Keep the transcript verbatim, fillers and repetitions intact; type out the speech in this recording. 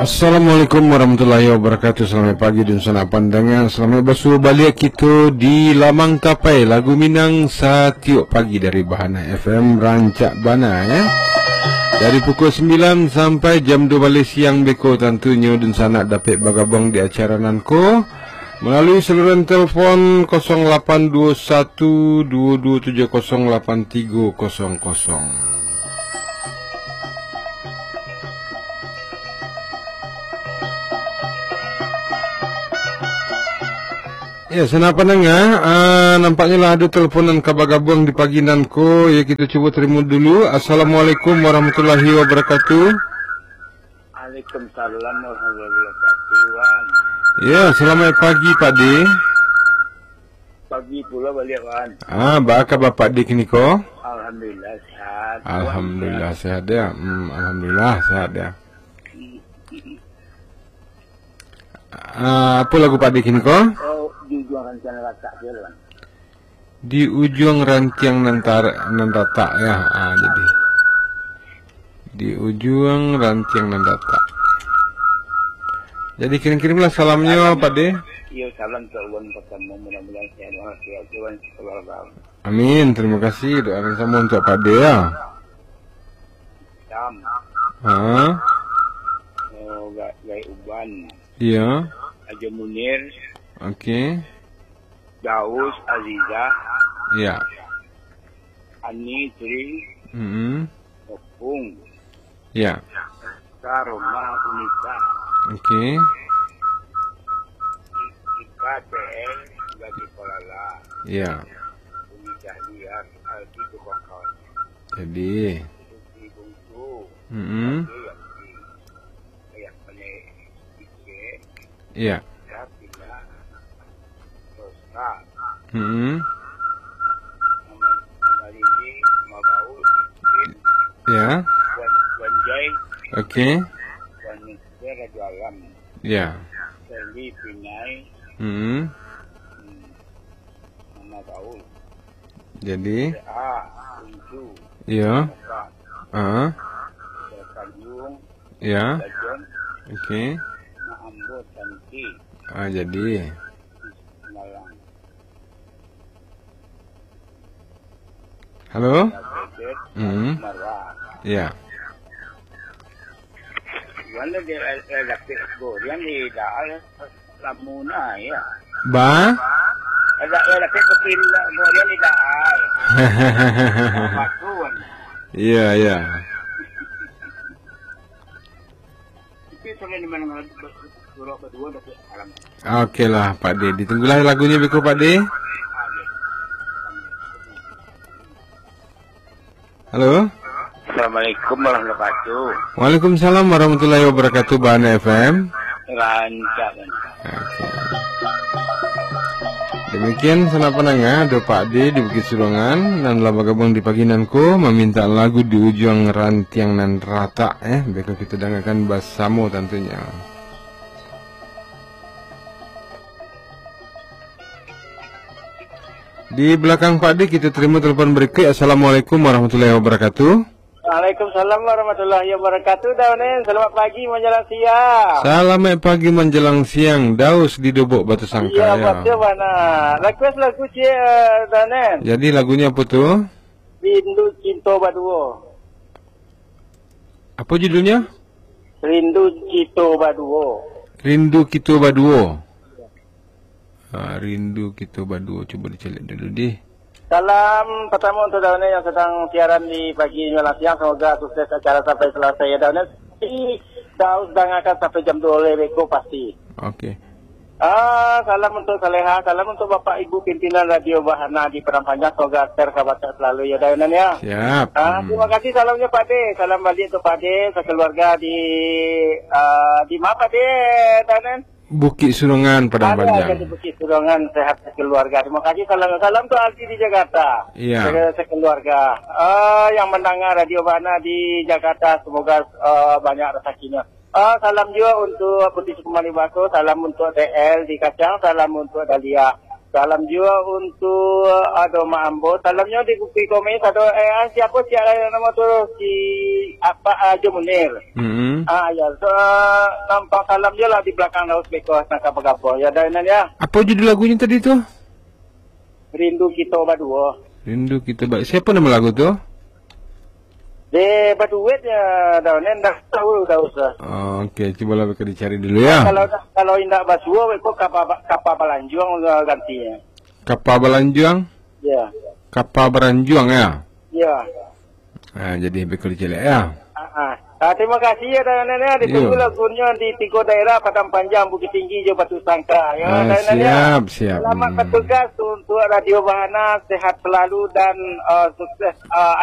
Assalamualaikum warahmatullahi wabarakatuh. Salamaik pagi, dunsanak pandanga. Salamaik basuo baliak kito di Lamang Tapai. Lagu Minang satiok pagi dari Bahana F M, rancak bana, ya. Dari pukul sambilan sampai jam duo baleh siang beko, tantunyo dunsanak dapek bagabuang di acara nan ko malalui saluran telepon kosong lapan duo satu duo duo tujuh kosong lapan tigo kosong kosong. Ya, sanak pandanga, ah, nampaknyo lah ado telepon nan ka bagabuang di pagi nan ko. Ya, kito cubo tarimo dulu. Assalamualaikum warahmatullahi wabarakatuh. Waalaikumsalam warahmatullahi wabarakatuh, Wan. Ya, salamaik pagi, Pak De. Pagi pulo baliak, Wan. Ah, baa kaba Pak De kini ko? Alhamdulillah, sehat. Wan, alhamdulillah, sehat? Sehat, ya. Hmm, alhamdulillah, sehat, ya. Ah, apo lagu Pak De kini ko? Oh, Di Ujuang Rantiang Ratak tu, Wan. Di Ujuang Rantiang Nan Tar-, Nan Ratak, ya. Ah, jadi. Di Ujuang Rantiang Nan Ratak. Jadi, kirim-kirimlah salamnyo, Pak De. Iyo, salam untuk ulun pertama, mudah-mudahan sehat walafiat, Wan, keluarga. Amin. Terima kasih. Doa nan samo untuk Pak De, ya. Sam. Ha? Oh, Ga-, Gai Uban. Iya. Ajo Munir. Oke. Daus Aziza. Iya. Ani Tri. Mm-mm. Opung. Iya. Karomah Unita. Oke. Ika T L Gadi Kolala. Iya. Umi Dahlia, Aldi Tukang Kawan. Jadi. Susi Bungsu. Mm-mm. Abdul Yasin. Ayah Pane Ike. Iya. Kapila. Roska. Mm-mm. Mama, Mama Lili, Mama Baul, Ike. Iya. Wan, Wan Jai. Oke. Wan Mister Raja Alam. Iya. Seli Pinai. Mm-mm. Hmm. Mama Baul. Jadi? A, Uncu. Iya. Muka. Ah. Tanjung. Iya. Dajon. Oke. Nak ambo cantik. Ah, jadi. Malang. Halo? Dajen. Hmm. Marwah. Iya. Gimana dia, eh, eh, lapis goreng di daal? Lamuna, ya. Ba? Ada, ada, tapi kepin lah, kemudian tidak. Bakun. Iya, iya. Tapi selain di mana, surau berdua, tapi alam. Oke lah, Pak De. Ditunggulah lagunya, beko, Pak De. Halo? Assalamualaikum warahmatullahi wabarakatuh. Waalaikumsalam warahmatullahi wabarakatuh, Bahana F M. Rancak, rancak. Oke. Demikian, sanak pandanga, ado Pak De di Bukik Surungan, nan lah bagabuang di pagi nan ko, maminta lagu Di Ujuang Rantiang Nan Ratak, eh. Beko kita dangakan basamo tantunyo. Di belakang Pak De, kita terima telepon berikut. Assalamualaikum warahmatullahi wabarakatuh. Waalaikumsalam warahmatullahi wabarakatuh, Daun. Selamat pagi menjelang siang. Selamat pagi menjelang siang, Daus di Dobok Batu Sangka, iya, ya. Betul bana. Request lagu ciek, Daun. Jadi lagunya apa tu? Rindu Cinto Baduo. Apa judulnya? Rindu Cinto Baduo. Rindu Kito Baduo. Ha, Rindu Kito Baduo. Cuba dicaliak dulu, deh. Salam pertama untuk Daun yang sedang siaran di pagi menjelang siang. Semoga sukses acara sampai selesai, ya, Daun. Pasti Daus dangakan sampai jam dua belas beko pasti. Oke. Ah, salam untuk Saleha, salam untuk Bapak Ibu pimpinan Radio Bahana di Padang Panjang. Semoga sehat selalu, ya, Daun, ya. Siap. Ah, hmm. Terima kasih salamnya, Pak De. Salam balik untuk Pak De sekeluarga di, ah, di mana, Pak De, Daun? Bukik Surungan, Padang Panjang. Ada di Bukik Surungan, sehat sekeluarga. Terima kasih. Salam, salam tu Aldi di Jakarta. Iya. Se-, sekeluarga. Ah, yang mendengar Radio Bahana di Jakarta, semoga, ah, banyak rezekinya. Ah, salam juga untuk Putih Sukumani Baso, salam untuk T L di Kacang, salam untuk Dahlia. Salam juo untuak ado mak ambo. Salamnyo di Bukik Komis ado, eh, ah, siapo ciek lai namo tu? Si apa, ah, Haji Munir. Mm-mm. Ah, ya. So, nampak salam juo lah di balakang Daus beko, nangka bagabung. Ya, dah, Nan, ya. Apo judul lagunyo tadi tu? Rindu Kito Baduo. Rindu Kito Ba-, siapo namo lagu tu? Dek baduet ya, dah, Nan, dah tahu, dah usah. Oh, oke, cubolah beko dicari dulu ya. Kalau, kalau indak basuo, beko kapa, kapa balanjuang, ah, gantinyo. Kapa balanjuang? Ya. Kapa baranjuang ya? Ya. Ah, jadi beko dicaliak ya. Ah, ah. Ah, terima kasih ya, Nan, ya. Ditunggu Yo. lagunyo di tigo daerah, Padang Panjang, Bukittinggi, jo Batusangka. Ya, Ah, Nan, ya. siap, siap. Selamat Hmm. bertugas untuk Radio Bahana, sehat selalu dan, ah, sukses, ah,